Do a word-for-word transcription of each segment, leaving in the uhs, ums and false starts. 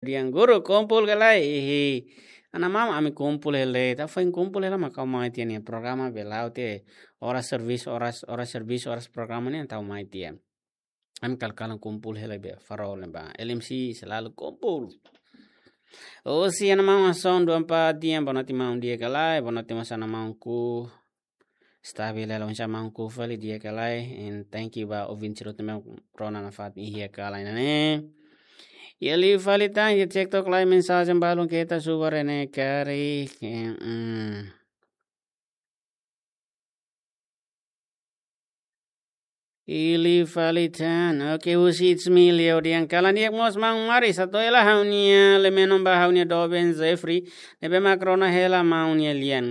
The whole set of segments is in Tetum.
Yang guru kumpul ka lae, ihi. Ana maun, ami kumpul hela, ita foin kumpul hela mak ha'u mai tiha ne'e programa bele la'o tiha oras servisu, oras, oras servisu, oras programa ne'e ita mai tiha. Ami kalan-kalan kumpul hela be farol ne'ebá. L M C selalu kumpul. Husi ana maun Ason dua empat di'ak, boa noite maun, di'ak ka lae, boa noite mós ana maunku. Stabil hela, oinsá maunku, fali di'ak ka lae, and thank you ba ouvinte sira hotu ne'ebé rona nafatin iha kalan ne'e. Iha liu fali tan, iha TikTok live mensajen balun keta subar ne'e karik, eh, mm. Iha liu fali tan. Oke, husi It's Me Leo dehan kalan di'ak mós maun Maris, atu hela ha'u-nia leme nomba ha'u-nia doben Jeffrey ne'ebé mak rona hela maun nia lian.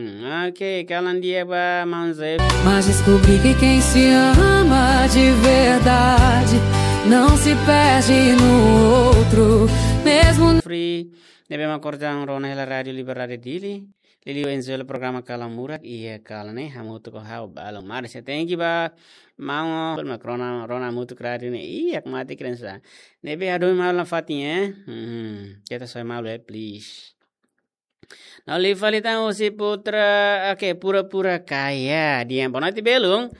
Oke, kalan di'ak ba maun Jeffrey. Mas descobri que quem se ama de verdade não se perde no outro, mesmo Free ne'ebé mak orsida rona hela Rádio Liberdade Dili. Liuliu enjoy programa Kalan Murak iha kalan ne'e hamutuk ho ha'u balun Maris. Thank you ba maun, mak rona, rona hamutuk rádiu ne'e. Iya, mati keren sa. Ne'ebé hadomi malu nafatin, eh. Hmm, keta soe malu, eh, please. Nah, liu fali tan husi Putra, oke, Pura-pura Kaya. Dehan boa noite belun.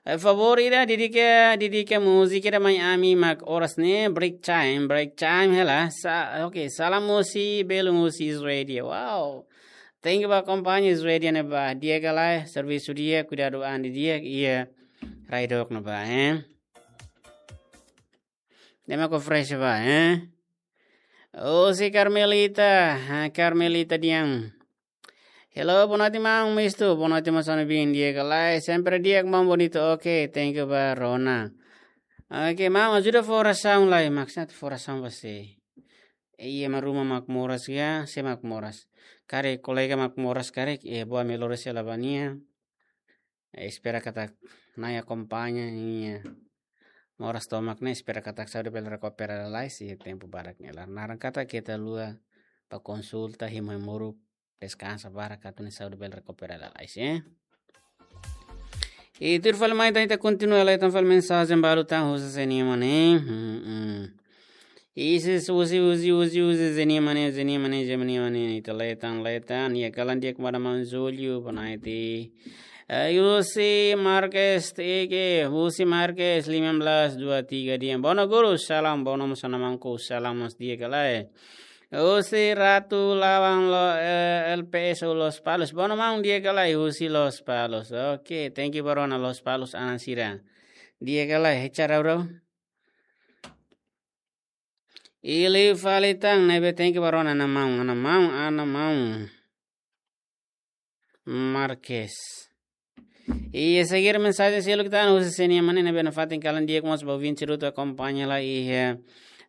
Eh, favór ida, dedika, dedika múzika ida mai ami mak oras ne'e, break time, break time hela. Sa-, oke, salam husi belun husi Israel. Wow. Thank you ba akompaña Israel ne'ebá. Di'ak ka lae, servisu di'ak, kuidadu an di'ak, iha rai dook ne'ebá, eh. Ne'e mak fresh ba, eh. Husi Carmelita, ha, Carmelita dehan. Hello, boa noite maun Mistu, boa noite maun Sano Bin, di'ak ka lae, sempre di'ak maun, bonito, oke, thank you ba rona. Oke, maun, ajuda fó orasaun lai, maksudnya fó orasaun ba sé. Iha ema ruma mak moras ka, sé mak moras. Karik kolega mak moras karik, eh, boa melhor sei la bania. Eh, espera katak Na'i akompaña nia moras tomak ne'e, espera katak saúde bele rekupera lalais iha tempu badak ne'e. Laran katak keta haluha bá konsulta, hemu hemu moruk, deskansa barak atu nia saúde bele rekupera lalais, eh. I tuir fali mai tan ita kontinua lai tan fali mensajen balu tan husi Zé Nima ne'e. Hmm, hmm. Isis, husi, husi, husi, husi, Zé Nima ne'e, Zé Nima ne'e, Zé Nima ne'e, ita lai tan, lai tan, iha kalan di'ak ba maun Julio, boa noite. Eh, husi Marques, tege, husi Marques, lima belas dua tiga dehan. Boa noite guru, salam, boa noite mós ana maunku, salam mós di'ak ka lae. Husi Ratu Lawang Lo-, eh, L P S Lospalos, boa noite maun, di'ak ka lae, husi Lospalos. Oke, thank you ba rona Lospalos, anan sira. Di'ak ka lae, hecha rau rau. I liu fali tan ne'ebé thank you ba rona ana maun, ana maun, ana maun Marques. I seguir mensajen seluk tan husi Zé Nima ne'e, ne'ebé nafatin kalan di'ak mós ba ouvinte sira hotu akompaña lai iha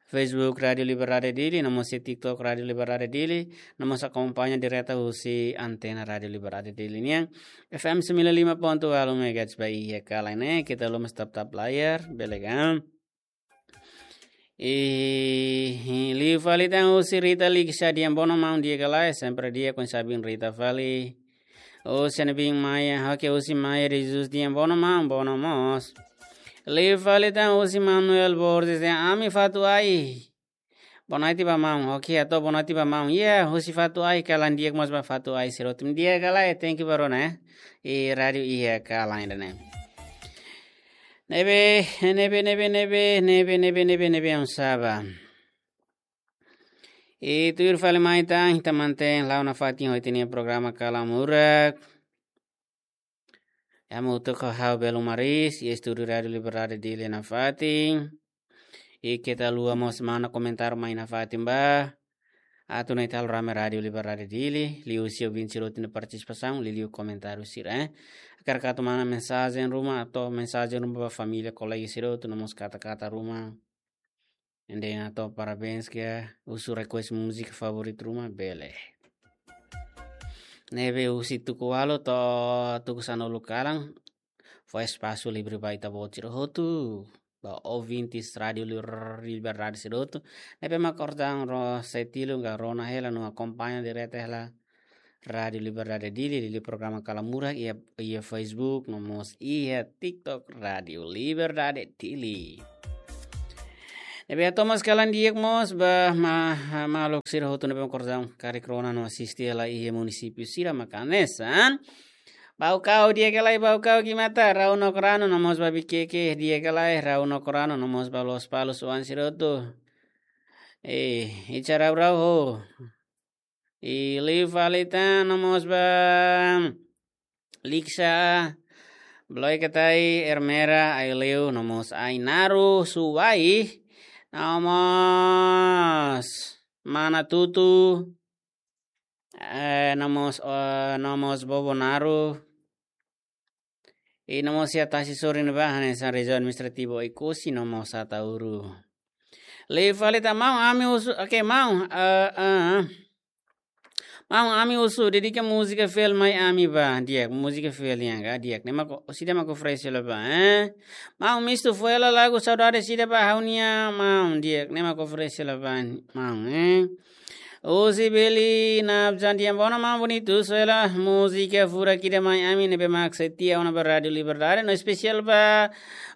Facebook Rádio Liberdade Dili, no mós iha TikTok Rádio Liberdade Dili, no mós akompaña direta husi antena Rádio Liberdade Dili nian. F M sembilan lima ponto walu megahertz ba iha kalan ne'e, keta haluha mós tap-tap layar, bele kan. I, i, liu fali tan husi Rita Liksa dehan boa noite maun, di'ak ka lae, sempre di'ak, oinsá bin Rita fali. Husi Ana Bin Maia, oke, husi Maia de Jesus dehan boa noite maun, boa noite mós. Liu fali tan husi Manuel Borges dehan ami Fatuai. Boa noite ba maun, oke, atu boa noite ba maun. Iya, husi Fatuai, kalan di'ak mós ba Fatuai sira hotu. Di'ak ka lae, thank you ba rona, eh. I rádiu iha kalan ida-ne'e. Ne'ebé, ne'ebé, ne'ebé, ne'ebé, ne'ebé, ne'ebé, ne'ebé, ne'ebé, oinsá ba. I tuir fali mai tan, ita mantein la'o nafatin ho ita-nia programa Kalan Murak. Hamutuk ho ha'u Belo Maris, iha estúdiu Rádio Liberdade Dili nafatin. I keta haluha mós mana komentáriu mai nafatin ba. Atu nune'e ita halo rame Rádio Liberdade Dili, liuhusi ouvinte sira hotu nia partisipasaun, liuliu komentáriu sira, eh. Hakarak atu mana mensajen ruma, atu mensajen ruma ba família, kolega sira hotu, no mós kata-kata ruma. Ende atu parabéns ka, husu request múzika favoritu ruma, bele. Ne'ebé husi tuku ualu to'o tuku sanulu kalan, fó espasu livre ba ita-boot sira hotu, ba ouvintes Rádio Li-, Liberdade sira hotu. Ne'ebé mak orsida rona, sei tilun ka rona hela no akompaña direta hela Rádio Liberdade Dili, liuliu programa Kalan Murak iha, iha Facebook, no mós iha TikTok Rádio Liberdade Dili. Ne'ebé hato'o mós kalan di'ak mós ba ma-, maluk sira hotu ne'ebé mak kordang karik rona no asisti hela iha munisípiu sira mak hanesan Baucau, di'ak ka lae, Baucau, Guimata, Rau no Krano, no mós ba Viqueque, di'ak ka lae, Rau no Krano, no mós ba Lospalos, oan sira hotu. Eh, icha rau rau ho. I liu fali tan no mós ba Liksa, Bloikatai, Ermera, Aileu, no mós Ainaru, Suai, no mós Manatutu, eh, no mós, eh, no mós Bobonaru, i no mós iha tasi sorin ba hanesan rejiaun administrativu Oekusi no mós Ataúru. Liu fali tan maun, ami husu, oke, maun, eh, eh. Maun, ami husu dedika múzika fiel mai ami ba, di'ak, múzika fiel nian ka, di'ak, ne'e mak, sida mak oferese hela ba, eh? Maun, mistu fó hela lagu Saudade sida ba ha'u-nia maun, di'ak, ne'e mak oferese hela ba, maun, eh? Husi Beli Nabzan, di'ak, bono maun bonitu, só hela múzika furak ida mai ami ne'ebé mak setia ona ba Rádiu Liberdade, no espesiál ba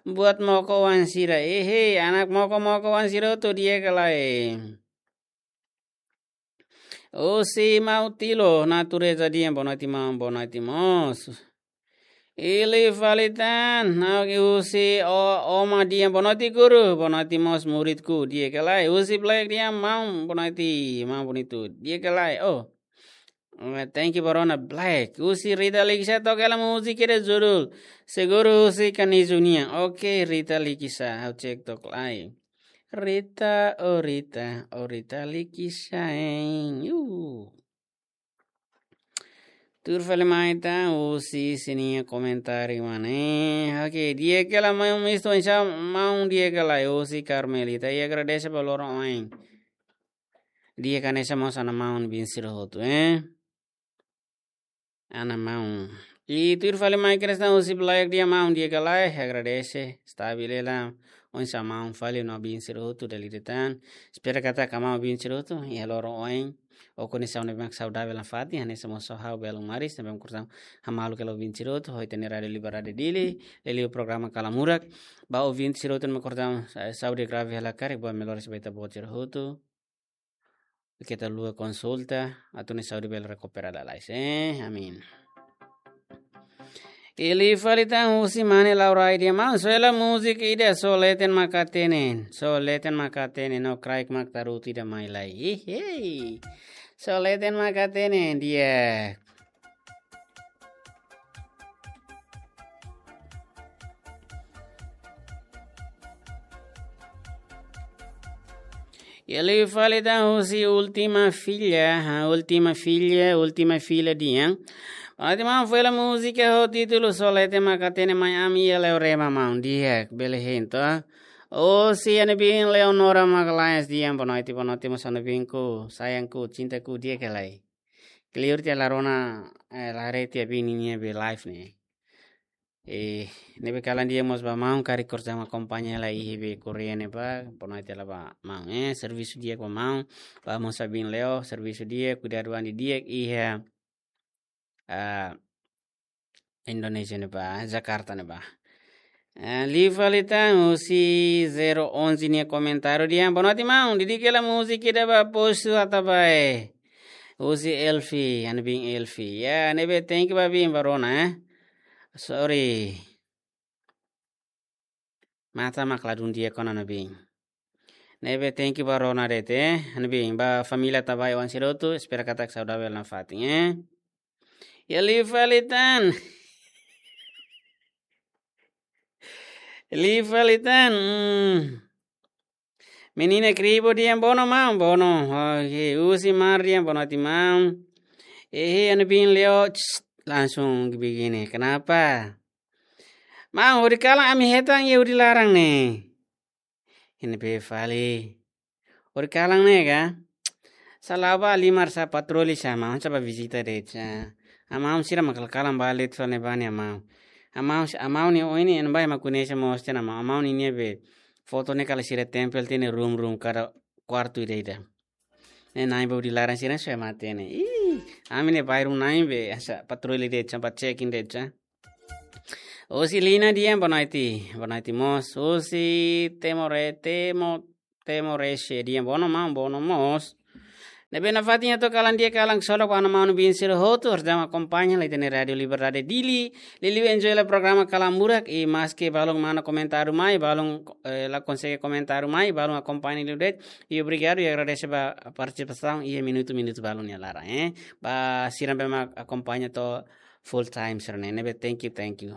buat Moko oan sira. Ehe, anak Moko, Moko oan sira hotu, di'ak ka lae. Husi Mautilo, Natureza, di'ak, boa noite maun, boa noite mós. I liu fali tan, na husi o-, Oma, di'ak, boa noite guru, boa noite mós muridku, di'ak ka lae. Husi Black, di'ak maun, boa noite, maun bonitu, di'ak ka lae. Oh, eh, thank you ba rona Black. Husi Rita Liksa, toka hela múzika ida judul Seguro husi Kanizu nian. Oke, Rita Liksa, ha'u cek tok lai. Rita, oh Rita, oh Rita Liksa, hein. Yu. Tuir fali mai tan, husi sira-nia komentáriu mana, eh. Oke, di'ak ka lae maun, mistu oinsá maun, di'ak ka lae, husi Carmelita. I agradese ba loron oin. Di'ak hanesan mós ana maun bin sira hotu, eh. Ana maun. I tuir fali mai Krisna husi Black, di'ak maun, di'ak ka lae, agradese, stabil hela, oinsá maun fali no bin sira hotu dala ida tan. Espera katak maun bin sira hotu, iha loron oin, ho kondisaun ne'ebé mak saudavel nafatin, hanesan mós ha'u Belun Maris, ne'ebé mak kordang hamaluk hela bin sira hotu, ho ita-nia Rádiu Liberdade Dili, liuliu programa Kalamurak, ba ouvinte sira hotu ne'ebé mak kordang, eh, saúde grave hela karik, ba melhoras ba ita-boot sira hotu. Keta haluha konsulta, atu nu'udar saúde bele rekupera lalais, eh, amin. I liu fali tan husi mane Laurai, di'ak maun, só hela múzika ida, Só Leten Mak Hatene, Só Leten Mak Hatene, no kraik mak tarutu ida mai lai. Ih, hei. Só Leten Mak Hatene, di'ak. I liu fali tan husi Última Filha, ha, Última Filha, Última Filha di'ak. Boa noite maun, fó hela múzika ho títulu Só Leten Mak Hatene mai ami iha Leorema maun, di'ak, bele hein to. Husi ha'u-nia biin Leonora Magalhães, di'ak, boa noite, boa noite mós ha'u-nia biinku, sayangku, cintaku, di'ak ka lae. Kleur tiha la rona, eh, la haree tiha biin ninia be live ne'e. Eh, ne'ebé kalan di'ak mós ba maun karik kordang akompaña hela iha be Korea ne'ebá, boa noite hela ba maun, eh, servisu di'ak ba maun, ba mós ba biin Leo, servisu di'ak, kuidadu an di'ak, iha, ah, Indonézia ne'ebá, Jakarta ne'ebá. Eh, liu fali tan husi zero onze nia komentáriu di'ak, boa noite maun, dedika hela múzika ida ba Poço Atabae. Husi Elfi, ha'u-nia biin Elfi. Ya, ne'ebé thank you ba biin ba rona, eh. Sorry. Matan mak ladún di'ak ona ha'u-nia biin. Ne'ebé thank you ba rona de'it, eh. Ha'u-nia biin, ba família Atabae oan sira hotu, espera katak saudavel nafatin, eh. I liu fali tan. Liu fali tan. Hmm. Menina Kribo di'ak, bono maun, bono. Oke, husi Mar di'ak, boa noite maun. Eh, ha'u-nia biin Leo, tss, langsung begini. Kenapa? Maun, hodi kalan ami hetan iha hodi laran ne'e. Ne'ebé fali. Hodi kalan ne'e ka? Sala ba halimar sá, patroli sá, maun sá bá vizita de'it sá. Amaun sira mak kalan-kalan ba de'it fali ne'ebá ne'e amaun. Amaun, amaun nia oin ne'e ema bá ema koñese mós tiha ona, amaun ninia be foto ne'e kala sira tempel tiha ona iha rum-rum kada kuartu ida-ida. Ne'e na'in ba hodi laran sira só ema hatene. Ih, ami ne'e bairru na'in be, hanesan patroli de'it sá, bá checking de'it sá. Husi Lina di'ak, boa noite. Boa noite mós. Husi Temore, Temo, Timor-Leste. Di'ak, bono maun, bono mós. Ne'ebé nafatin atu kalan di'ak, kalan ksolok ba maun-alin sira hotu, horjama akompaña hela ita-nia Rádiu Liberdade Dili. Liuliu enjoy hela programa Kalan Murak, i maske balun mana komentáriu mai, balun, eh, la konsege komentáriu mai, balun akompaña liu de'it. I obrigadu i agradese ba partisipasaun iha minutu-minutu balun nia laran, eh. Ba sira ne'ebé mak akompaña to'o full time sira-ne'e. Ne'ebé thank you, thank you.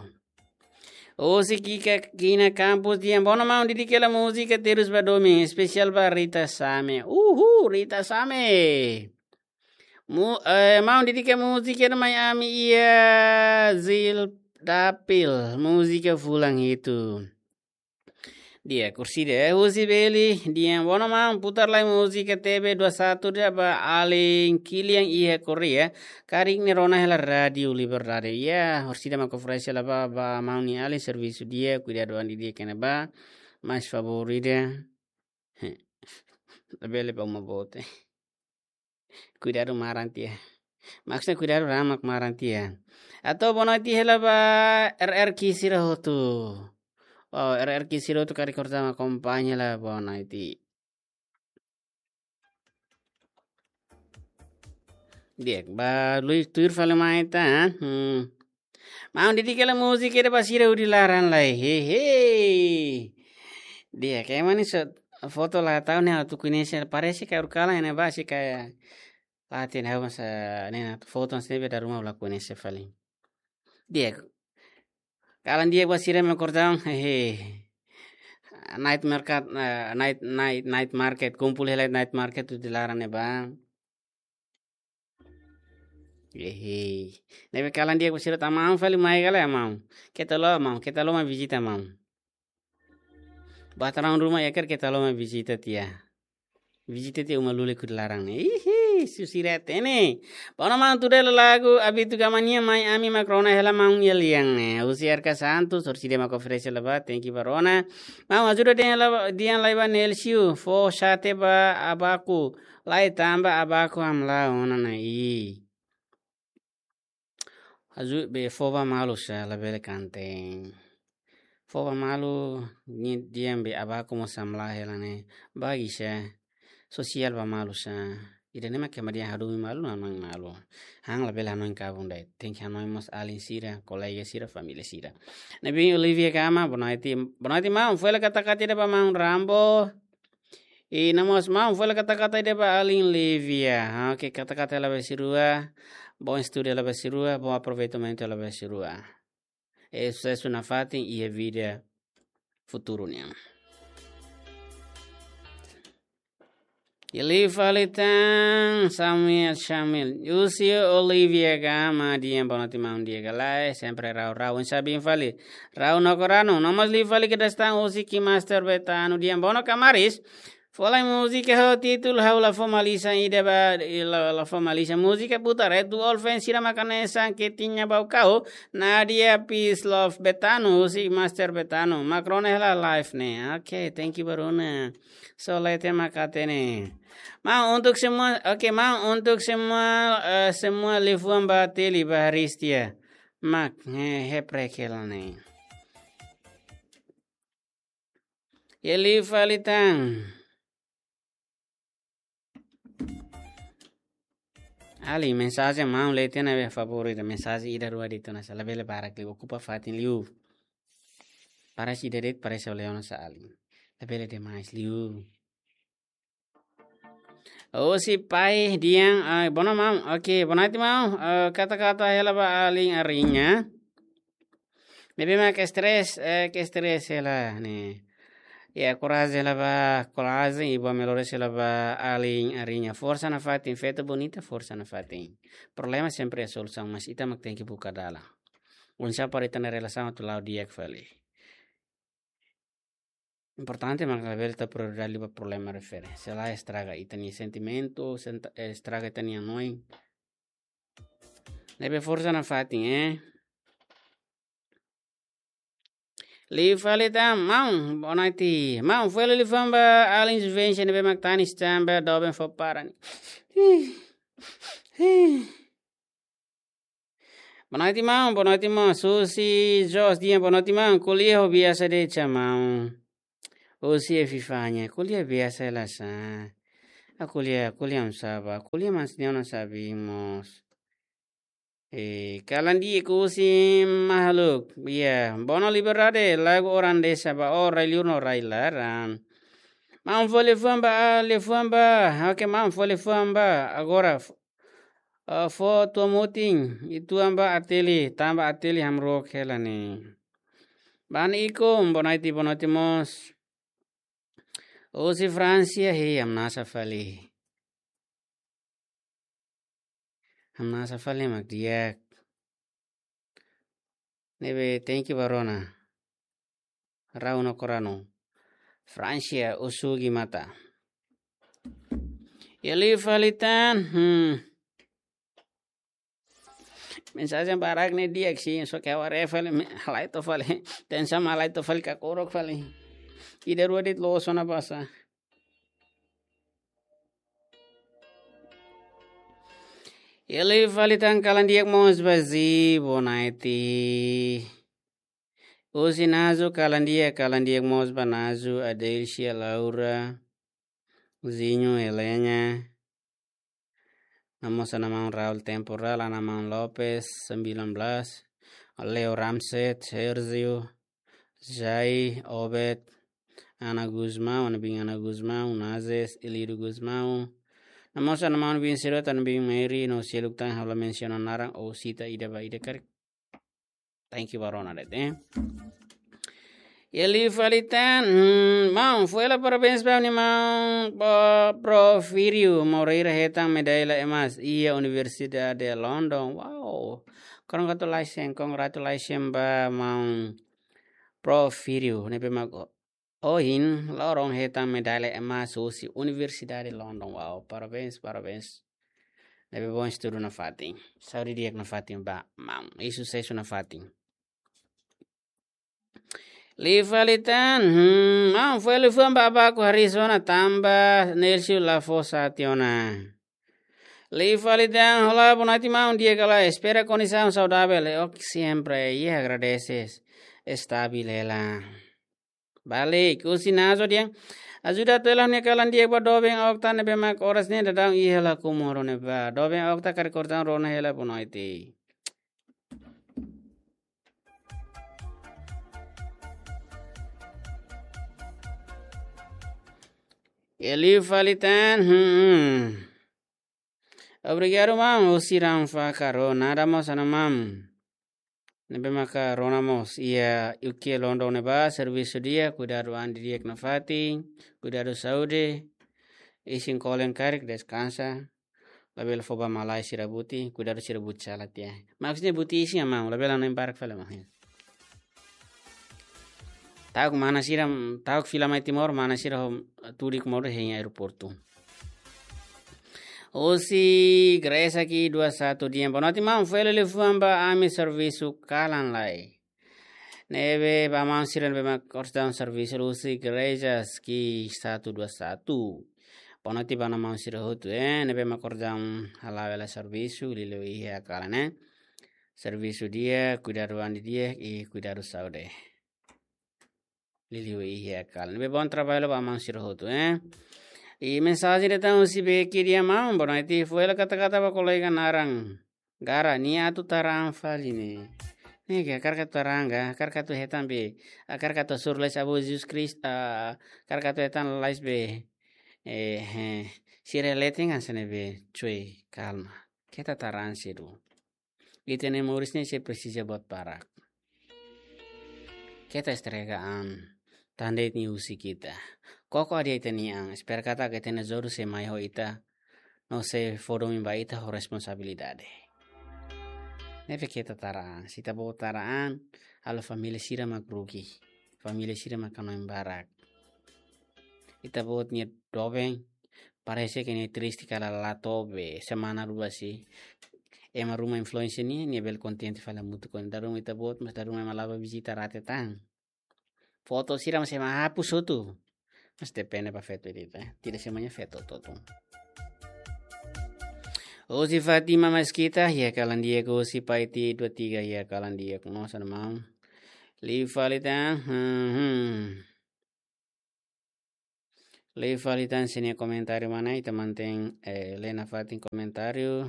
Husi Kika Kina Campos, di'ak, bono maun, dedika hela múzika Terus ba Domin, espesiál ba Rita Same. Uhul, Rita Same. Mu-, eh, maun, dedika múzika ida mai ami iha Zil Dapil, múzika Fulan Hitu. Di'ak, husi, eh, husi Beli, di'ak, bono maun, putar lai múzika T B dua satu ida ba alin Kilian iha Korea, karik nia rona hela Rádiu Liberdade. Ya, orsida mak oferese hela ba, ba maun nia alin servisu di'ak, kuidadu an di'ak iha ne'ebá, mais favór ida. Labele ba uma boot. Kuidadu maran tiha. Maksudnya kuidadu raan mak maran tiha. Atu boa noite hela ba R R Q sira hotu. Oh, R R Q sira hotu karik horjama akompaña hela, boa noite. Di'ak, ba lui tuir fali mai ita, ha? Hmm. Maun, dedika hela múzika ida ba sira hodi laran lai. Hehe. Di'ak, ema ne'e só foto la tau ne'e atu koñese, parese karik kalan ne'e ba si kayak latihan hau masa ne'e na foto ne'e be dala ruma la koñese fali. Di'ak, kalan di'ak ba sira mak horjama, hehe. Night market, eh, night, night, night market, kumpul hela night market hodi laran ne'ebá. Hehe. Ne'ebé kalan di'ak ba sira, ita maun fali mai ka lae, maun. Keta haluha maun, keta haluha mai vizita maun. Ba ita-nia ruma iha karik, keta haluha mai vizita tiha. Vizita tiha uma lulik hodi laran ne'e. Ihi, susira tene. Bono maun, tuda hela lagu Abitu Gama nian, mai ami mak rona hela maun iha lian ne'e. Husi R K Santos, orsida mak oferese hela ba, thank you ba rona. Maun, ajuda dehan lai, dehan lai ba Nelsiu, fó xate ba abaku, lai tanba abaku hamlaha ona nai. Ajuda be fó ba malu sá, labele kanten. Fó ba malu, ni di'ak be abaku mós hamlaha hela ne'e. Bagi sá, sosiál ba malu sá. Ida-ne'e mak ema dehan hadomi malu, hanoin malu. Han labele hanoin kabun de'it. Tenke hanoin mós alin sira, kolega sira, família sira. Ne'ebé Olivia Gama, boa noite. Boa noite, maun. Fó hela kata-kata ida ba maun Rambo. I no mós maun, fó hela kata-kata ida ba alin Livia. Oke, kata-kata hela ba sira rua. Bom estudo hela ba sira rua, bom aproveitamento hela ba sira rua. I susesu nafatin iha vida futuru nian. Liu fali tan, Samuel Shamil. Husi Olivia Gama, di'ak, boa noite maun, di'ak ka lae, sempre rau-rau. Oinsá biin fali. Rau no koranu, no mós liu fali kedas tan husi Ki Master Betano, di'ak, bono kamaris. Fó lai múzika ho títulu Ha'u La Formaliza ida ba, la, La Formaliza. Múzika putar, eh, duo fans sira mak hanesan Ketinha Baucau, Nadia, Peace Love Betano, husi Master Betano. Mak rona hela live ne'e. Oke, thank you ba rona. So, leten mak hatene. Maun, untuk semua, oke, maun, untuk semua, eh, semua liafuan ba Teli, ba Haristia. Mak, eh, heprek hela ne'e. Liu fali tan. Alin, mensajen maun leten ne'ebé favór ida, mensajen ida rua de'it ona sá, labele barak liu, okupa fatin liu. Parese ida de'it, parese ole ona sá alin. Labele demais liu. Husi Pai Dian, ah, bono maun, oke, boa noite maun, eh, kata-kata hela ba alin Ariña. Ne'ebé mak stress, eh, ke stress hela ne'e. Ya, korajen hela ba, korajen, i boa melhoras hela ba alin Ariña. Forsa nafatin, feto bonita, forsa nafatin. Problema sempre iha solusaun, mas ita mak tenke buka dalan. Oinsá para ita-nia relasaun atu la'o di'ak fali. Importante mak labele tau prioridade liu ba problema refere. Se lae estraga ita-nia sentimentu, senta-, eh, estraga ita-nia hanoin. Ne'ebé forsa nafatin, eh. Liu fali tan, maun, boa noite. Maun, fó hela liafuan ba alin Juvencio ne'ebé mak tanis tanba doben fó para ne'e. Ih, ih. Boa noite, maun. Boa noite, maun. Susi Jos, di'ak, boa noite, maun. Ko'alia ho biasa de'it sá, maun. Husi Efifanha, ko'alia biasa hela sá. Ko'alia, ko'alia oinsá bá, ko'alia mas ne'e ona sabi mós. Eh, kalan di'ak husi Mahaluk. Iya, Bono Liberdade, lagu orang desa bá, oh, rai-li'ur no rai-laran. Maun fó liafuan bá, ah, liafuan bá. Oke, maun fó liafuan bá. Agora, f-, ah, fó tua mutin, ituan bá Ateli, tanba Ateli hamrook hela ne'e. Bani Iko, boa noite, boa noite mós. Husi Fransia, hei, hamnasa fali. Hamnasa fali mak di'ak. Ne'ebé, thank you ba rona. Rau no korano. Fransia, Usugi Mata. Iha liu fali tan, hmm. Mensajen barak ne'e di'ak sih, só ke aware fali, me-, halai to fali. Tensa ma halai to fali, kakorok fali. Ida rua de'it loos ona basa. Iha liu fali tan kalan di'ak mós ba Zi, boa noite. Husi Nazu kalan di'ak, kalan di'ak mós ba Nazu, Adelcia, Laura, Zinho, Helena. Namosa naman Raul Temporal, Ana Maun Lopes, sembilan belas, Leo Ramset, Sergio, Jai, Obed, Ana Gusmão, Ana Bin Ana Gusmão, Nazes, Elidio Gusmão. Namosa naman Bin Sirota, Ana Bin Mary, no seluk tan ha'u la mensiona naran ou sita ida ba ida karik. Thank you ba rona de'it, eh. Iha liu fali tan, hmm, maun, fó hela parabéns ba nia maun, ba Porfírio Moreira hetan medalla emas iha Universidade London. Wow. Congratulations, congratulations ba maun Porfírio, ne'ebé mak ohin loron hetan medalla emas husi Universidade London. Wow, parabéns, parabéns. Ne'ebé bom estudu nafatin. Saúde di'ak nafatin ba maun. I susesu nafatin. Liu fali tan, hmm, maun, fó liafuan ba Abaco Arizona tanba Nelson la fó sat ona. Liu fali tan, olá, boa noite, maun, di'ak ka lae? Espera kondisaun saudavel. Eh, ok, sempre. I agradeses. Estabil hela. Balik, husi Nazo dehan. Ajuda atu hela ha'u-nia kalan di'ak ba doben Okta ne'ebé mak oras ne'e daudaun iha hela Comoro ne'ebá. Doben Okta karik oras daudaun rona hela, boa noite. Iha liu fali tan, hmm. Obrigadu maun, husi Ranfa Karo, nada mós Ana Maun. Ne'ebé maka rona mós iha U K London ne'ebá, servisu di'ak, kuidadu an didi'ak nafatin, kuidadu saúde, isin kolen karik, deskansa, labele fó ba malae sira buti, kuidadu sira buti sala tiha. Maksudnya buti isin, maun, labele hanoin barak fali, maun. Ta'uk mana sira, ta'uk fila mai Timor, mana sira ho tudik modo hein aeroportu. Husi Grace Ki dua satu dehan, boa noite maun, fó hela liafuan ba ami servisu kalan lai. Ne'ebé ba maun sira ne'ebé mak oras daudaun servisu husi Grace Ki satu dua satu. Boa noite ba maun sira hotu, eh, ne'ebé mak oras daudaun hala'o hela servisu, liuliu iha kalan, eh. Servisu di'ak, kuidadu an didi'ak, i kuidadu saúde. Liuliu iha kalan. Ne'ebé bom trabalho ba maun sira hotu, eh. I mensajen de'it tan husi Beki dehan, maun, boa noite, fó hela kata-kata ba kolega naran Gara, nia atu taran fali ne'e. Ne'e ka, hakarak atu taran ka, hakarak atu hetan be, hakarak atu hasoru lais Abu Jesus Kristu, ah, hakarak atu hetan lais be. Eh, eh, sira leten kan sene be, cuy, kalma. Keta taran sedu. Ita-nia moris ne'e sei presiza buat barak. Keta estrega an, tan de'it nia husik ita. Koko hadi'a ita-nia an, espera katak ita-nia jodoh sei mai ho ita, no sei fó domin ba ita ho responsabilidade. Ne'ebé keta taran, se ita-boot taran, halo família sira mak rugi, família sira mak hanoin barak. Ita-boot nia doben, parese ke nia triste kala la to'o be semana rua sih. Ema ruma influencer nia, nia bele kontente fali hamutuk ho nia. Dala ruma ita-boot, mas dala ruma ema la bá vizita rate tan. Foto sira mas ema hapus hotu. Mas depende ba feto ida-idak, eh. Tidak semuanya feto hotu-hotu. Husi Fatima Maskita, iha kalan di'ak, husi Paiti dua tiga, iha kalan di'ak, no sana mau. Liu fali tan, hmm, hmm. Liu fali tan sira-nia komentáriu mak ne'e, ita mantein, eh, lee nafatin komentáriu.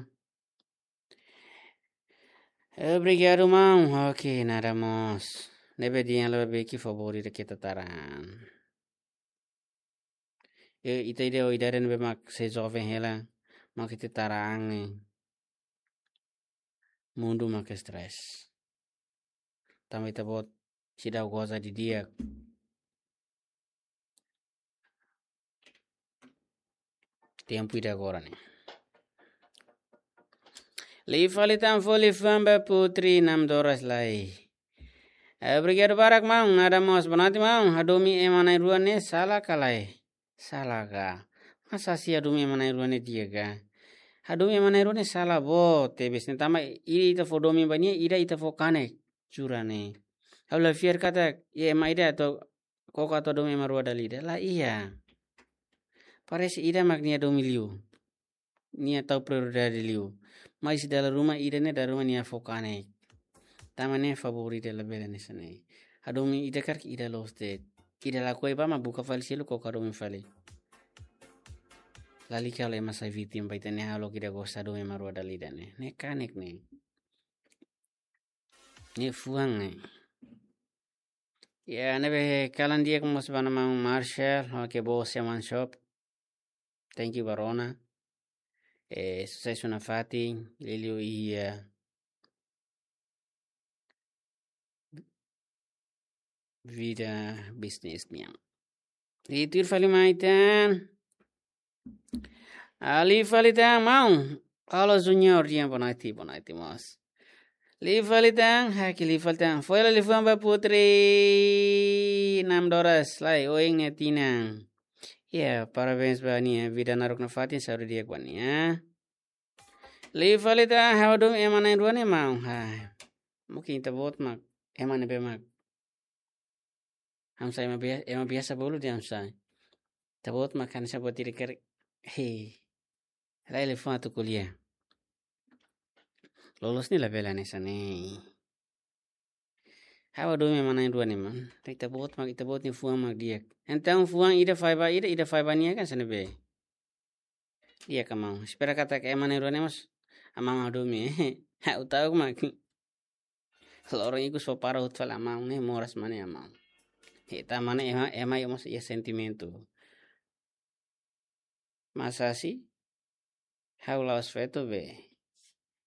Obrigadu, maun. Oke, nada mós. Ne'ebé dehan la'ós be ke favór ida ke ita tara an. Eh, ita ida ho idade ne'ebé mak sei joven hela, mak ita tara an, eh. Mundu mak stress. Tanba ita-boot seidauk goza didi'ak. Tempu ida agora ne'e. Liu fali tan fó liafuan ba Putri Namdoras lai. Eh, obrigadu barak, maun. Nada mós, boa noite, maun. Hadomi ema na'in-rua ne'e sala ka lae? Sala ka? Masa si hadomi ema na'in-rua ne'e di'ak ka? Hadomi ema na'in-rua ne'e sala boot tebes ne'e, tanba ida ita fó domin ba nia, ida ita fó kanek, jura ne'e. Ha'u la fiar katak iha ema ida atu koko atu hadomi ema rua dala ida. La iha. Parese ida mak nia domin liu. Nia tau prioridade liu. Mas dala ruma ida ne'e dala ruma nia fó kanek. Tanba ne'e favór ida labele hanesan ne'e. Hadomi ida karik ida loos de'it. Ida lakohi bá mak buka fali seluk koko hadomi fali. Lalika halo ema sai vítima ba ita-nia hahalok ida gosta hadomi ema rua dala ida ne'e. Ne'e kanek ne'e. Ne'e fuan ne'e. Ya, ne'ebé kalan di'ak mós ba maun Marshall, oke, boa semana shop. Thank you ba rona. Eh, susesu nafatin, liuliu iha vida bisnis nian. I tuir fali mai tan. Ah, liu fali tan, maun. Halo Junior, dia boa noite, boa noite, mós. Liu fali tan, haki liu fali tan. Fó hela liafuan ba Putri Namdoras, lai, oin nia tinan. Ya, parabéns ba nia, vida naruk nafatin, saúde di'ak ba nia. Liu fali tan, ha'u hadomi ema na'in-rua ne'e, maun. Ha. Mungkin ita-boot mak ema ne'ebé mak, hamsa ema bia-, ema biasa bolu de'it hamsa. Ita-boot mak hanesan buat ida karik. Hei. Lae, liafuan atu ko'alia. Loloos ne'e labele hanesan ne'e. Ha'u hadomi ema na'in-rua ne'e, maun. Ita-boot mak, ita-boot nia fuan mak di'ak. Entaun fuan ida fai ba ida, ida fai ba nia kan hanesan ne'ebé. Di'ak ka, maun? Espera katak ema na'in-rua ne'e mós amaun hadomi. Ha'u ta'uk mak. Loron ikus fó para hotu fali amaun ne'e, moras mak ne'e amaun. He, tanba ne'e ema, ema iha mós iha sentimentu. Masa si? Ha'u la'ós feto be.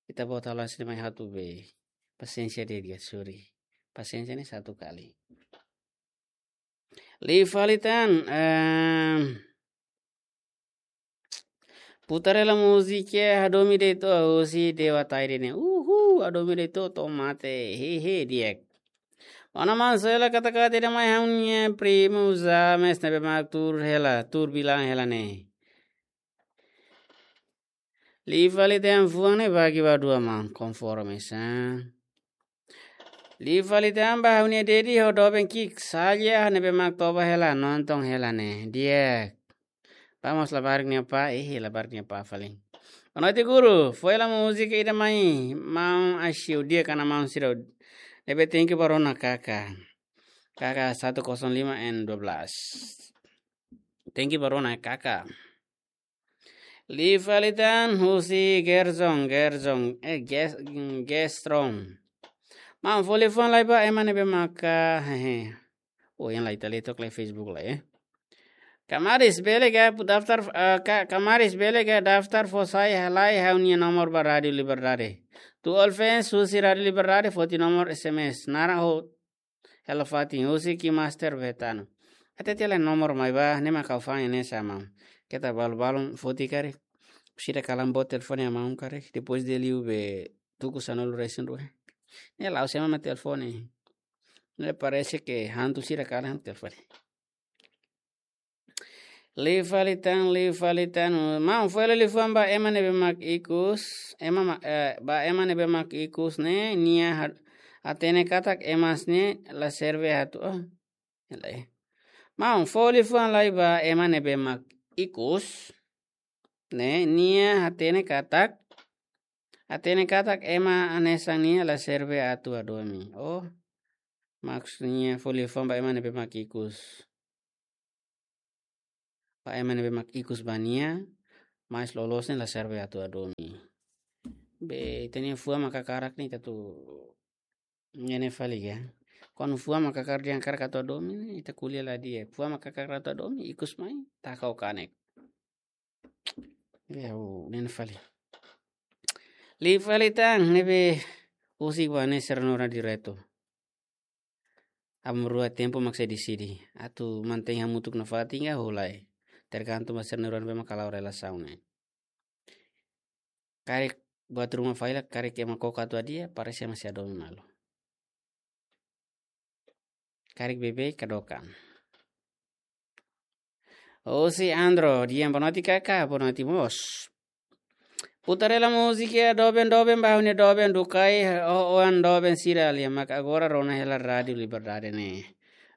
Ita-boot halo hanesan ne'e mai hotu be. Pasiénsia de'it, suri. Pasiénsia ne'e satu kali. Liu fali tan, ehm, Putarela múzika hadomi de'it ó, husi Dewa Taide ne'e. Uhu, hadomi de'it ó, to'o mate. Hehe, di'ak. Ona man sela kata-kata ida mai ha'u-nia primu James ne'ebé mak tuur hela, tuur bilan hela ne'e. Liu fali tan fuan ne'e bagi ba dua, maun, konforme sa. Liu fali tan ba ha'u-nia dedi ho doben ki'ik saja ne'ebé mak toba hela, nonton hela ne'e. Di'ak. Ba mós labarik nia apá, eh, labarik nia apá fali. Boa noite, guru. Fó hela múzika ida mai, maun Ashiu, di'ak ka maun sira. Ne'ebé thank you ba rona K K. K K satu kosong lima N dua belas. Thank you ba rona K K. Liu fali tan husi Gerson, Gerson, eh, Ges-, Gestrom. Maun, fó liafuan lai ba ema ne'ebé maka, hehe. Oh, yang lai tali tok lai Facebook lai, eh. Kamaris bele ka daftar, eh, ka-, kamaris bele ka daftar fó sai halai ha'u-nia nomor ba Rádio Liberdade. Tuir fans husi Rádio Liberdade foti nomor S M S. Naran ho hela fatin husi KineMaster Betano. Até tela nomor mai ba, ne'e mak ha'u fa'an ne'e sa, maun. Keta balu-balun foti karik. Sira kalan boot telefone amaun karik. Depois de liu be tuku sanulu-resin-rua. Ne'e la'ós ema mak telefone. Ne'e parese ke hantu sira kalan telefone. Liu fali tan, liu fali tan. Maun, fó hela liafuan ba ema ne'ebé mak ikus, ema ma-, eh, ba ema ne'ebé mak ikus ne'e, nia ha-, hatene katak emas ne'e la serve atu. Oh, hela, eh. Maun, fó liafuan lai ba ema ne'ebé mak ikus ne'e, nia hatene katak, hatene katak ema hanesan nia la serve atu hadomi. Oh, maksudnya fó liafuan ba ema ne'ebé mak ikus. Ba ema ne'ebé mak ikus ba nia, mas loloos ne'e la serve atu hadomi. Be, ita-nia fuan mak hakarak ne'e ita atu ne'e fali ka. Kuandu fuan mak hakarak, dehan hakarak atu hadomi ne'e, ita ko'alia la di'ak. Fuan mak hakarak atu hadomi, ikus mai, taka ho kanek. Ya, o ne'e fali. Liu fali tan, ne'ebé husik ba ne'e sira-nia oran diretu. Aban-bainrua tempu mak sei deside. Atu mantein hamutuk nafatin ka hola. Tergantung ba sira-nia oran ne'ebé mak hala'o relasaun ne'e. Karik buat ruma fali la, karik ema koko atu hadi'a, parese ema sei hadomi malu. Karik beibeik hadook an. Husi Andro, di'ak, boa noite kaka, boa noite mós. Putar hela múzika doben-doben ba ha'u-nia doben Dukai, o oan doben sira lia mak agora rona hela Rádiu Liberdade ne'e.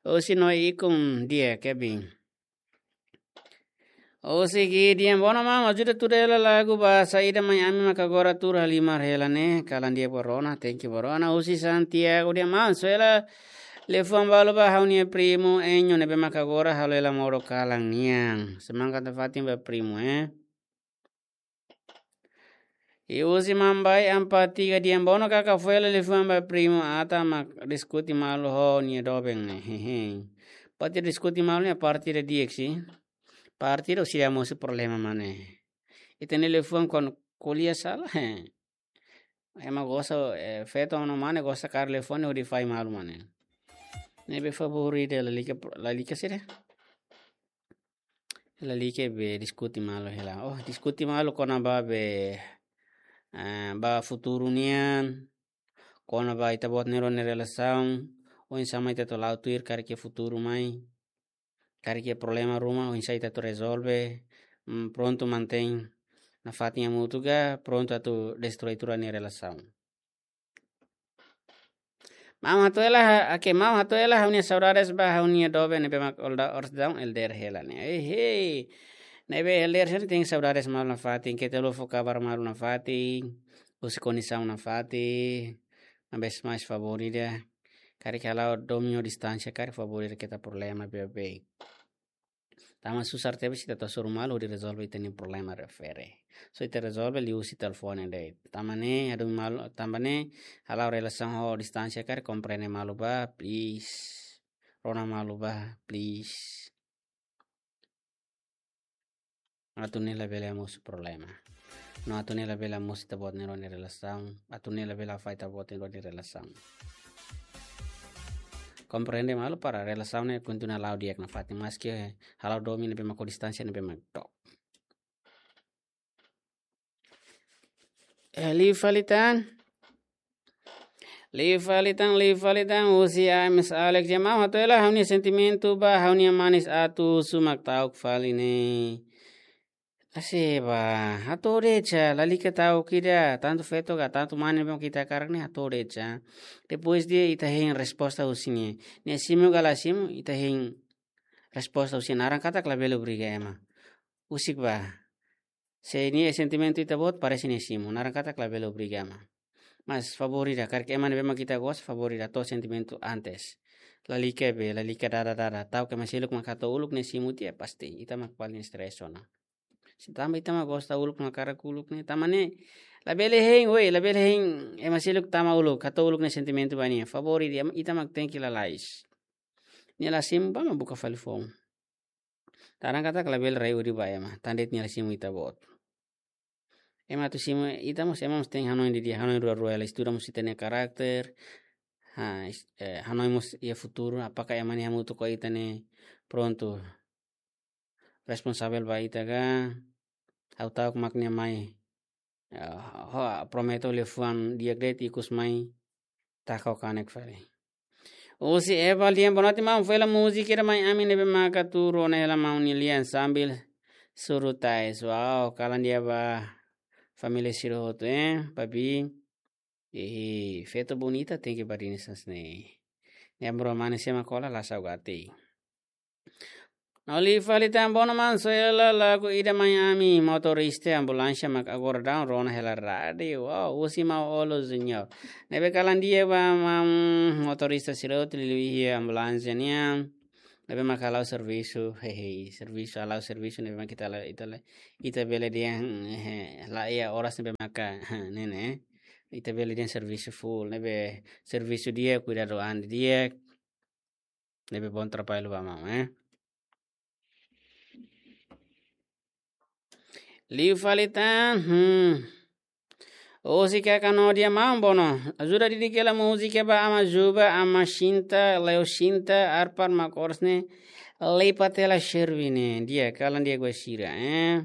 Husi Noi Ikun, di'ak, Kevin. Husi Gideon, boa noite maun, ajuda tuda hela lagu ba saida mai ami mak agora tuur halimar hela ne'e, kalan di'ak ba rona, thank you ba rona. Husi Santiago, di'ak maun, soe hela liafuan balu ba ha'u-nia primu Enyo ne'ebé mak agora halo hela modo kalan nian. Semangat nafatin ba primu, eh. I husi Mambai Ampati, di'ak, boa noite kaka, fó hela liafuan ba primu Ata mak diskute malu ho nia doben ne'e. Hehe. Parte diskute malu ne'e parte ida di'ak sih. Parte ida husi ida mosu problema mak ne'e. Ita-nia liafuan kuandu ko'alia sala, he. Ema gosta, eh, feto no mane gosta kaer liafuan hodi fai malu mak ne'e. Ne'ebé favór ida lalika, lalika sira. Lalika be diskute malu hela. Oh, diskute malu kona-ba be, eh, ba futuru nian. Kona-ba ita-boot nia rona nia relasaun. Oinsá mak ita atu la'o tuir karik iha futuru mai. Karik iha problema ruma, oinsá ita atu rezolve. Mm, prontu mantein nafatin hamutuk ka, prontu atu destroi tuir nia relasaun. Maun hato'o hela, oke, maun hato'o hela ha'u-nia saudades ba ha'u-nia doben ne'ebé mak oras daudaun elder hela ne'e. Ei, hei. Ne'ebé elder sira tenke saudades malu nafatin, keta haluha fó kabar malu nafatin, husi kondisaun nafatin, maibé mais favór ida. Karik hala'o domin ho distánsia, karik favór ida keta problema beibeik. Tanba susar tebes ita atu hasoru malu hodi rezolve ita-nia problema refere. Só ita rezolve liuhusi telefone de'it. Tanba ne'e, hadomi malu, tanba ne'e, hala'o relasaun ho distánsia karik komprende malu ba, please. Rona malu ba, please. Atu ne'e labele hamosu problema. No atu ne'e labele hamosu ita-boot nia rona nia relasaun. Atu ne'e labele hafai ita-boot nia rona nia relasaun. Komprende malu para relasaun ne'e kontinua la'o di'ak nafatin, maski hala'o domin ne'ebé mak ho distánsia ne'ebé mak dook. Eh, liu fali tan. Liu fali tan, liu fali tan, husi A M S Alex, di'ak maun, hato'o hela ha'u-nia sentimentu ba ha'u-nia manis atu husu mak ta'uk fali ne'e. Asi ba, hato'o de'it sa, lalika ta'uk ida, tantu feto ka, tantu mane ne'ebé mak ita hakarak ne'e hato'o de'it sa. Depois ida ita hein resposta husi nia. Nia simu ka la simu, ita hein resposta husi nia, naran katak labele obriga ema. Husik ba. Se nia sentimentu ita-boot, parese nia simu, naran katak labele obriga ema. Mas favór ida, karik ema ne'ebé mak ita gosta, favór ida hato'o sentimentu antes. Lalika be, lalika dada dada. Ta'uk ema seluk mak hato'o uluk ne'e simu tiha pasti. Ita mak paling stres ona. Se tanba ita mak gosta uluk mak hakarak uluk ne'e. Tanba ne'e, labele hein, woi, labele hein ema seluk tama uluk, hato'o uluk nia sentimentu ba nia. Favór ida, ita mak tenke lalais. Nia la simu, bá mak buka fali foun. Naran katak labele rai odi ba ema, tanba de'it nia la simu ita-boot. Ema atu simu ita mós, ema mós tenke hanoin didi'ak, hanoin rua-rua hela, estuda mós ita-nia karakter. Ha, is-, eh, hanoin mós iha futuru, apakah ema ne'e hamutuk ho ita ne'e prontu responsavel ba ita ka, ha'u ta'uk mak nia mai. Ya, ho, promete liafuan di'ak de'it, ikus mai taka ho kanek fali. Husi Eva Lian, boa noite maun, fó hela múzika ida mai ami ne'ebé maka tuur ona hela maun nia lian sambil suru tais. Wow, kalan di'ak ba família sira hotu, eh, papi. Eh, feto bonita tenke badinas hanesan ne'e. Nia amor mane sema kola la saugati. No liu fali tan, boa noite maun, soe hela lagu ida mai ami, motorista ambulánsia mak agora daudaun rona hela rádiu. Wow, husi Maun Olo Junior. Ne'ebé kalan di'ak ba maun, motorista sira hotu liuliu iha ambulánsia nian. Ne'ebé maka hala'o servisu, hehe, servisu, hala'o servisu ne'ebé maka ita la, ita la, ita bele dehan, eh, la iha oras ne'ebé maka, ne'e ne'e. Ita bele dehan servisu full, ne'ebé servisu di'ak, kuidadu an di'ak. Ne'ebé bom trabalho ba maun, eh. Liu fali tan, hmm. Husi Kaka Nodia, maun, bom, ajuda didik hela múzika ba Ama Juba, Ama Shinta, Leo Shinta, Arpar Makorsne, Lei Patela Sherwine. Di'ak, kalan di'ak ba sira, eh.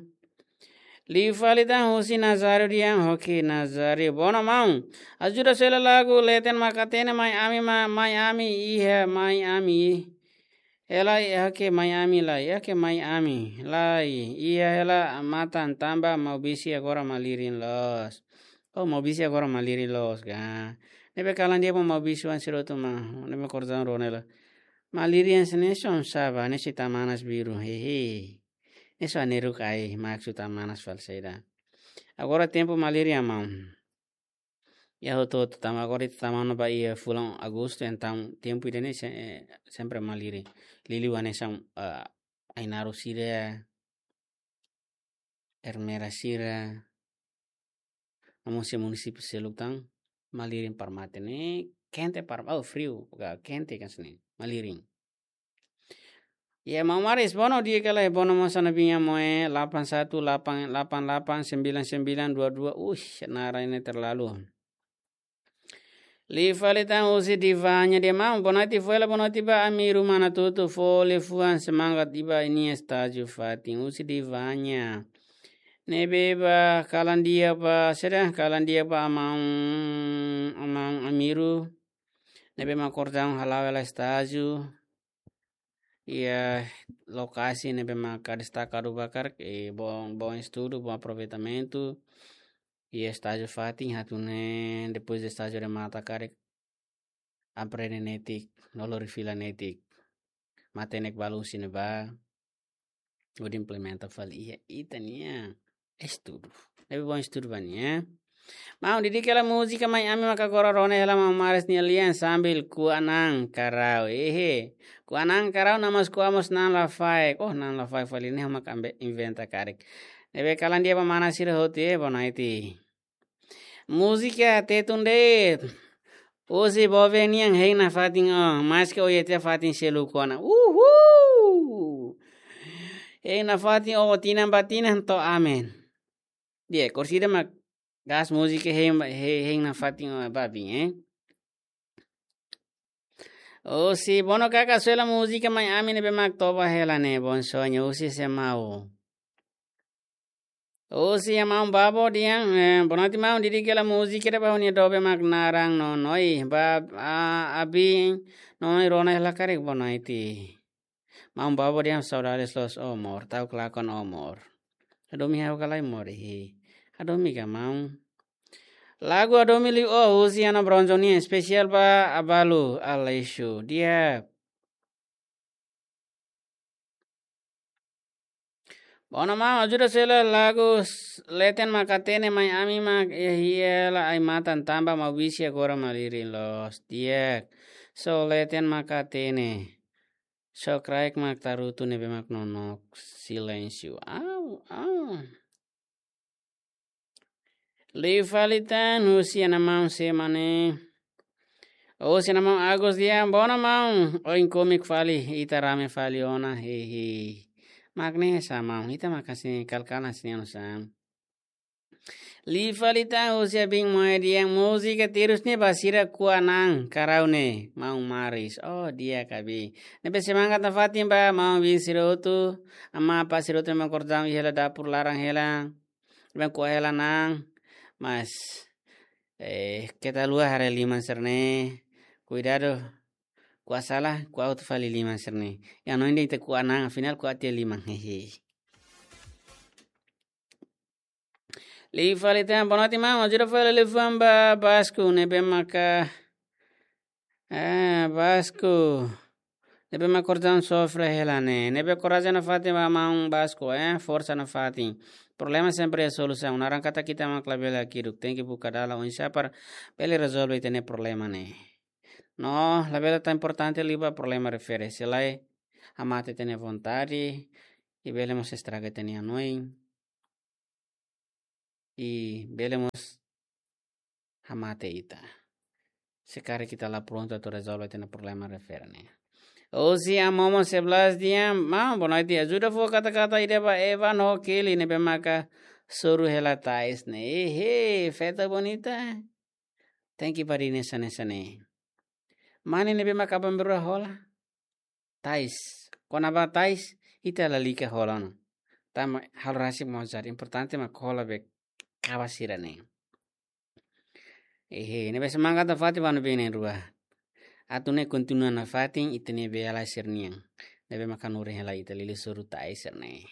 Liu fali tan husi Nazario dehan, oke, Nazario. Bom, maun. Ajuda sela lagu Leten Maka Hatene, mai ami, ma-, mai ami, iha, mai ami. Hela, iha ke mai ami lai, iha ke mai ami lai, iha hela matan tanba Maubisi agora malirin loos. Oh, Maubisi agora malirin loos ka. Ne'ebé kalan di'ak ba Maubisi oan sira hotu, maun, ne'ebé kordang rona hela. Malirin hanesan ne'e son saba, hanesan ita-nia manas biru, hehe. Ne'e son ne'e ruk ai, maksud ita-nia manas fali saida. Agora tempu malirin, maun. Iha hotu-hotu tanba agora ita tama ona ba iha fulan Agostu, entaun tempu ida-ne'e se-, eh, sempre malirin. Liuliu hanesan, eh, Ainaro sira, Ermera sira, no mós iha munisípiu seluk tan, malirin para mate ne'e, kente para, oh, friu, ka kente kan sini, malirin. Ya, maun Maris, bom, di'ak ka lae, bom, maun, sana binya moe, delapan satu delapan delapan delapan sembilan sembilan dua dua. Ush, naran ne'e terlalu. Liu fali tan husi Divanya dehan, maun, boa noite, fó hela boa noite ba Amiru Manatutu, fó liafuan semangat ba nia estájiu fatin, husi Divanya. Ne'ebé ba kalan di'ak ba, sira kalan di'ak ba maun, maun Amiru. Ne'ebé mak kordang hala'o hela estájiu. Iha lokasi ne'ebé maka destaka duni ba karik, eh, bom, bom estudu, bom aproveitamentu. Iha estájiu fatin, atu nune'e, depois de estájiu remata karik, aprende netik, no lori fila netik. Matenek balu husi ne'ebá, hodi implementa fali iha ita-nia estudu. Ne'ebé bom estudu ba nia, eh. Maun, didik hela múzika Mai Ami maka agora rona hela maun Maris nia lian sambil Kuanang Karau. Ehe. Kuanang Karau, namás kua mós Na'in Lafaek. Oh, Na'in Lafaek fali ne'e maka ambe inventa karik. Ne'ebé kalan di'ak ba mana sira hotu, eh, boa noite. Múzika Tetun de'it. Husi Bove nian hein nafatin ó, maske ó iha tiha fatin seluk ona. Uhul! Hein nafatin ó, tinan ba tinan to'o amen. Di'ak, korsida mak gas múzika hein, hein, hein nafatin ó ba bin, eh. Husi Bono Kaka, sela múzika Mai Ami ne'ebé mak toba hela ne'e, Bom Sonho, husi Semau. Husi maun Babo dehan, eh, boa noite maun, didik hela múzika ida ba ha'u-nia doben mak naran Nonoi, ba, a, abin, Nonoi rona hela karik boa noite. Maun Babo dehan saudades loos ó amor, ta'uk lakon ó amor. Hadomi ha'u ka lae amor, ihi. Hadomi ka maun. Lagu Hadomi Liu Ó, husi Ana Bronzoni, espesiál ba Abalu, Aleixo, di'ak. Bom maun, ajuda sela lagu s-, Leten Maka Hatene Mai Ami mak iha hela ai-matan tanba Maubisi agora malirin loos, di'ak. Só leten maka hatene. Só kraik mak tarutu ne'ebé mak nonook, silénsiu. Au, au. Liu fali tan, husi Ana Maun Semane. Husi Ana Maun Agus dehan, bom maun, oin komik fali, ita rame fali ona, hehe. Mak ne'e sá maun, ita mak hanesan ne'e, kalkala hanesan ne'e oinsá. Liu fali tan, husi Abin Moe dehan, múzika terus ne'e ba sira Kuanang Karau ne'e, maun Maris. Oh, di'ak Abin. Ne'ebé semangat nafatin ba maun-bin sira hotu, amá-apá sira hotu mak kordang iha hela dapur laran hela. Bem, kua hela na'an, mas, eh, keta haluha haree liman sira-ne'e. Kuidadu, kua sala, kua hotu fali liman sira-ne'e. Iha hanoin dehan ita Kuanang, afinál kua tiha liman, hehe. Liu fali tan, boa noite maun, ajuda fali liafuan ba Basco, ne'ebé maka Ah, Basco. Ne'ebé mak kordang sofre hela ne'e. Ne'ebé korajen nafatin ba maun Basco, eh, forsa nafatin. Problema sempre iha solusaun. Naran katak ita mak labele hakiduk. Tenke buka dalan oinsá para bele rezolve ita-nia problema ne'e. No, labele tan importante liu ba problema refere. Se lae, hamate ita-nia vontade, i bele mós estraga ita-nia hanoin, i bele mós hamate ita. Se karik ita la prontu atu rezolve ita-nia problema refere ne'e. Osi Amomo sebelas diam, maun, boa noite. Ajuda fó kata-kata ida ba Eva no Kelly ne'ebé maka soru hela tais ne'e. Ehe, festa bonita. Tenke bá hanesan ne'e, hanesan ne'e. Mane ne'ebé maka aban-bainrua hola tais. Kona-ba tais, ita lalika hola ona. Tanba halo rasik mozar, importante mak hola be kaba sira-ne'e. Ehe, ne'ebé semangat nafatin ba ha'u-nia biin na'in-rua. Atu nune'e kontinua nafatin ita-nia beiala sira-nian. Ne'ebé maka hanorin hela ita liuliu soru tais sira-ne'e.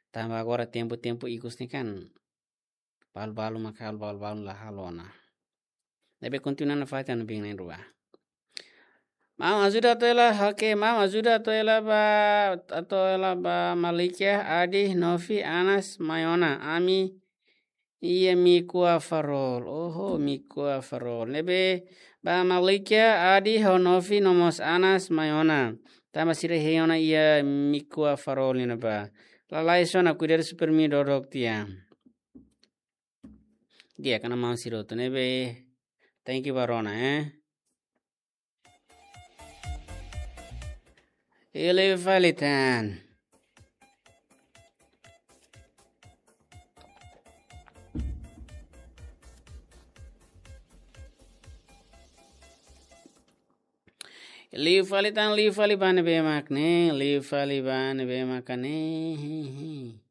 Tanba agora tempu-tempu ikus ne'e kan balu-balu maka halo, balu-balu la halo ona. Ne'ebé kontinua nafatin ba ha'u-nia biin na'in-rua. Maun, ajuda atu hela, oke, maun, ajuda atu hela ba, atu hela ba Malikia, Adi, Nofi, Anas, mai ona, ami iha Mikua Farol. Oho, Mikua Farol. Ne'ebé ba Malikia, Adi, ho Nofi, no mós Anas, mai ona. Tanba sira hein ona iha Mikua Farol ne'ebá. Lalais ona, kuidadu super mi dodok tiha. Di'ak, kona maun sira hotu ne'ebé. Thank you ba rona, eh. Liu fali tan. Liu fali tan, liu fali ba ne'ebé mak ne'e, liu fali ba ne'ebé mak ne'e.